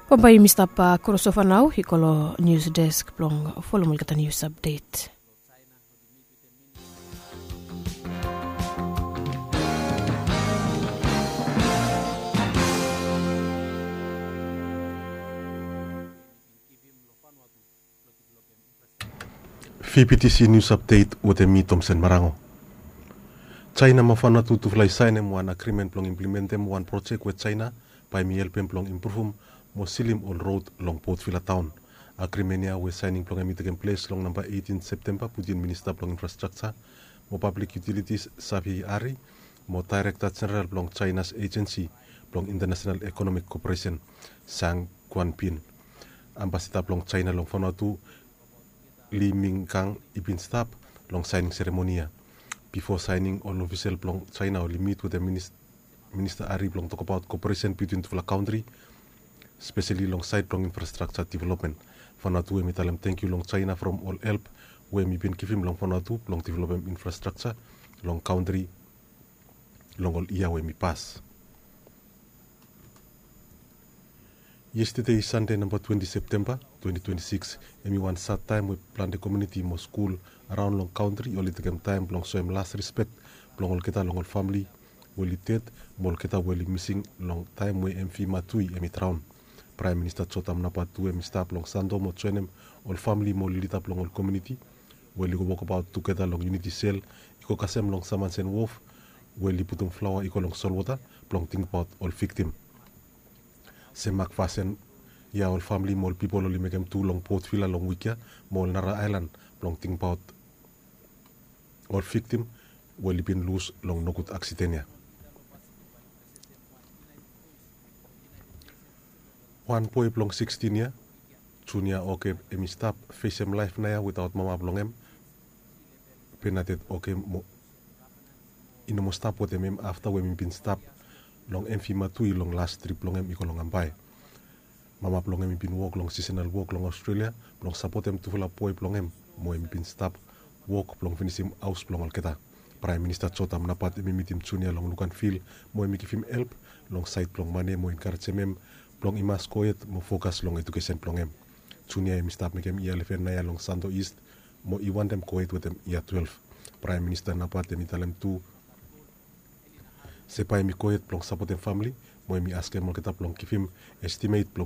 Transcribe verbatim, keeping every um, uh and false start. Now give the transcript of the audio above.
Bambae yumi stap krosova nao i go long nius desk blong folem olgeta nius apdet. Fipitisi nius apdet wetem mi, Tomsen Marango. Jaena mo Vanatu tufala i saenem wan agrimen blong implimentem wan projek we Jaena bae mi helpem blong impruvum mo silim ol rod long Port Vila taon. Agrimen ya we saening blong hem i tekem ples long namba eitin Septemba, putin Minista blong Infrastrakja mo Pablik Yutilitis Savi Hari mo Daerekta Jeneral blong Jaena's Ejensi blong Intanasenal Ekonomik Koperesen, Sang Guanpin. Ambasada blong Jaena long Vanatu, Li Mingkang, i bin stap long saening seremoni ya. Bifo saening, ol ofisel blong Jaena oli mit wetem Minista Hari blong tokbaot koperesen bitwin tufala kantri, speseli long saed blong infrastrakja developmen. Vanatu hem i talem tangkiu long Jaena from ol help we hem i bin givim long Vanatu blong developem infrastrakja long kantri long ol yia we hem i pas. Yestede, Sande namba twenti Septemba twenti twenti sikis, hem i wan sad taem we plante komuniti mo skul araon long kantri oli tekem taem blong soem las rispek blong olgeta long ol famili we oli ded mo olgeta we oli mising long taem we MV Matui hem i draon. Praem Minista Jotam Napat tu hem i stap long Santo mo joenem ol famili mo ol lida blong ol komuniti we oli go wokbaot tugeta long Uniti Sel i go kasem long Samansen Wof we oli putum flaoa i go long solwota blong tingbaot ol viktim. Sem mak fasin ya ol famili mo ol pipol oli mekem tu long Port Vila long wik ya mo ol nara aelan blong tingbaot ol viktim we oli bin lus long nogud aksiden ya. Wan boe blong sikstin yia, Junia Oke, hem i stap fesem laef naoia witaot mama blong hem, Benadet Oke, mo i no moa stap wetem hem afta we hem i bin stap long MV Matui long las trip blong hem i go long Ambae. Mama blong hem i bin wok long sisonal wok long Australia blong sapotem tufala boe blong hem, mo hem i bin stap wok blong finisim haos blong olgeta. Praem Minista Jotam Napat hem i mitim Junia long Luganvil mo hem i givim help long saed blong mane mo enkarejem hem blong i mas gohed mo fokas long ejukesen blong hem. Junia hem i stap mekem yia leven naoia long Santo Ist mo i wantem gohed wetem yia twelef. Praem Minista Napat hem i talem tu se bae hem i gohed blong sapotem famili mo hem i askem olgeta blong givim estimet blong